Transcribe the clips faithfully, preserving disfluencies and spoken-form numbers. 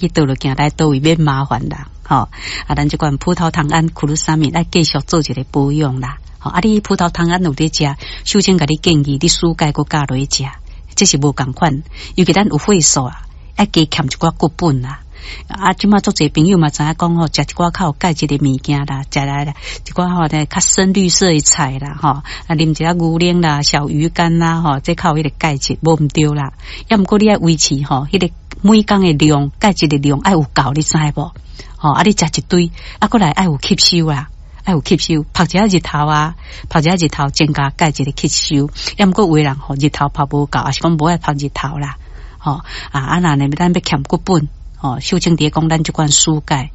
去倒落行來佗位免麻煩啦，吼！啊，咱這款葡萄糖胺、苦魯沙米來繼續做一个保養啦。吼，啊，你葡萄糖胺有咧食，秀清共你建議你舒鈣閣加落去食，這是無仝款。尤其咱有血素啊，愛加添一寡骨本啦。啊，這馬足濟朋友嘛知影講吼，食一寡較有鈣質的物件啦，食來啦一寡吼較深綠色的菜啦，吼，啊，啉一下牛奶啦、小魚乾啦，吼，這較有彼个鈣質，無毋對啦。抑毋過你愛維持吼，彼个每工的量，鈣質的量愛有夠，你知無？吼，啊，你食一堆，啊，閣來愛有吸收啊，愛有吸收，曝一下日頭啊，曝一下日頭增加鈣質的吸收。抑毋過有的人吼，日頭曝無夠，抑是講無愛曝日頭啦，吼啊，啊若呢咱欲添骨本，吼，秀清佇咧講咱這款舒鈣，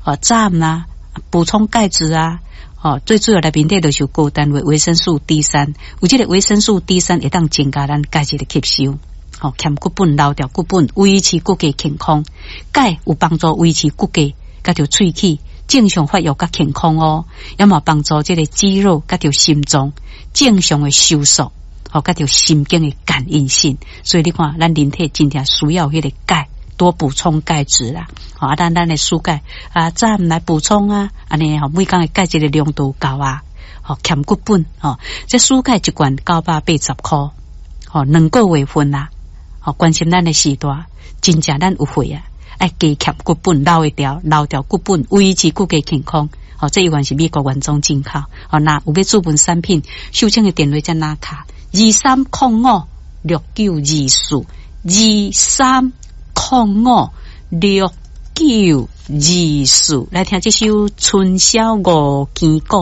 吼，早暗啦，補充鈣質啊，吼，最主要內面底就是有高單位維生素 D 三，有這个維生素 D 三會當增加咱鈣質的吸收。吼，添骨本，留著骨本，維持骨骼健康。鈣有幫助維持骨骼，佮著喙齒正常發育佮健康哦。也嘛幫助這个肌肉佮著心臟正常的收縮，吼，佮著神經的感應性。所以你看，咱人體真正需要彼个鈣，多補充鈣質啦。吼，啊，咱咱的舒鈣啊，早暗來補充啊，按呢吼，每工的鈣質的量都有夠啊。吼，添骨本，吼，這舒鈣一罐九百八十箍，吼，兩個月份啦。吼，關心咱的序大，真正咱有血啊，愛加添骨本，留會牢，留著骨本，維持骨骼健康。吼，這依然是美國原裝進口。吼，若有欲注文產品，秀清的電話遮拿卡，二三空五六九二四，二三空五六九二四，來聽這首《春宵五更鼓》。